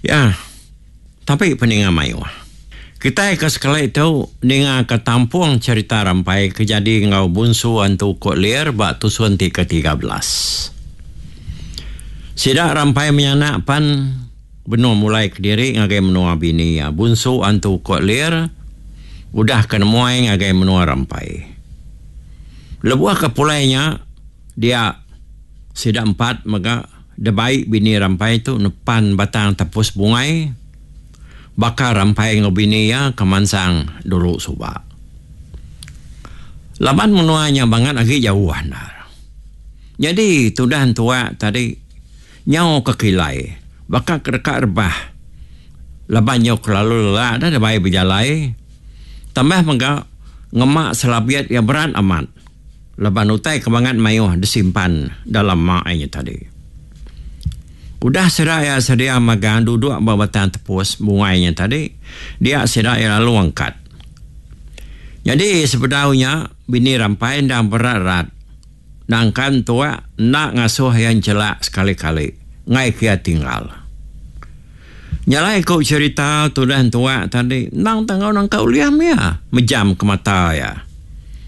Ya, tapi peninga mayuh. Kitai ke sekali tu ninga ke tampung cherita Rampai ke jadi enggau Bunsu Antu Kok Lir ba tusun ti ke 13. Sida Rampai menyanak pan benung mulai kediri ngagai menua bini iya Bunsu Antu Kok Lir udah ke nemuai ngagai menua Rampai. Lebuh ke pulai nya dia sida empat mega Debai bini Rampai tu nepan batang tepus bungai baka Rampai enggau bini iya ke mansang dulu suba. Laban menua nya bangat agi jauh endar. Nyadi tudah entua tadi nyau ke kilai baka ke deka rebah laban nyau kelalu lelak dah debai bejalai tambah mega ngema selabit iya berat amat. Laban utai ke bangat mayuh disimpan dalam ma iya nya tadi. Udah sida iya sedia magang duduk ba batang tepus bungai nya tadi, dia sida iya lalu angkat. Nyadi sebedau nya, bini Rampai endang berat-rat nangkan tuak enda ngasuh iya enchelak sekali-kali enggai ke iya tinggal. Nya alai ku cherita tudah entua tadi endang tangau nangka ulih mih iya mejam ke mata iya.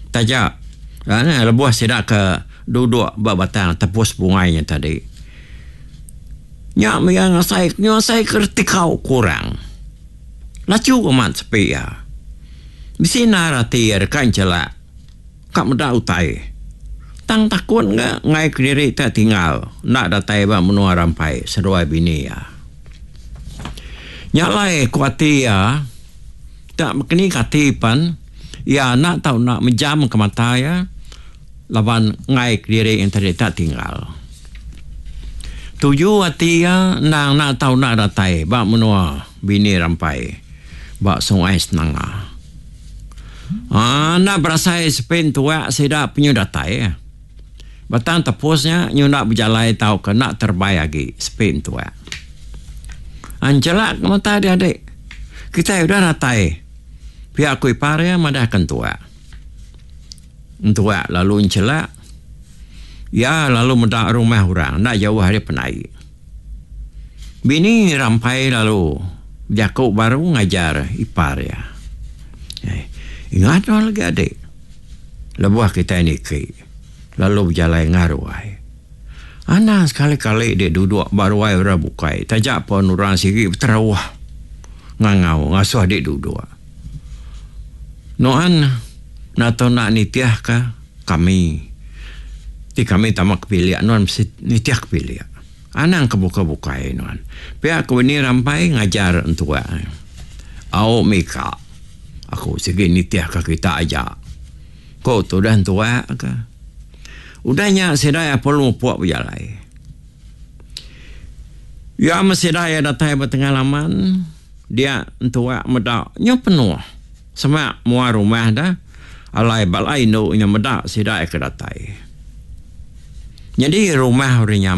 Taja lebuh sida ke duduk ba batang tepus bungai nya tadi. Nya mih iya ngasai ngasai ke reti kau kurang. Lachu amat sepi iya. Bisi endar ati iya deka enchelak. Ka meda utai. Tang takut ga enggai kediri te tinggal enda datai ba menua Rampai seduai bini iya. Nya alai ku ati iya, te bekeni ke ati pen iya enda tau enda mejam ke mata iya laban enggai kediri enti te tinggal. Tuju ati iya endang enda tau enda datai ba menua bini Rampai ba Sungai Senanga. Aa enda berasai sepi entuak sida penyu datai. Batang tepus nya nyu enda bejalai tauka enda terebai agi sepi entuak. Enchelak ke mata dia adik. Kitai udah datai. Pia ku ipar iya madahka entuak. Entuak lalu enchelak. Iya lalu meda rumah orang enda jauh ari pendai. Bini Rampai lalu bejaku baru ngajar ipar iya. Ingat nuan lagi adik. Lebuh kitai niki lalu bejalai ngaruai. Anang sekali-kali dik duduk ba ruai orang bukai taja pun orang sigi beterauh ngangau ngasuh dik duduk. Nuan enda tau enda nitihka kami. Ti kami tama ke bilik nuan mesti nitih ke bilik. Anang ke bukai-bukai nuan. Pia ku bini Rampai ngajar entua. Au mika. Aku sigi nitihka kita aja. Ku tudah entua ka. Udah nya sida iya perlu mupuk bejalai. Iya meh sida iya datai ba tengah laman dia entua meda nyau penuh semak mua rumah da alai bala indu nya meda sida iya ke datai. Nyadi rumah orang nya.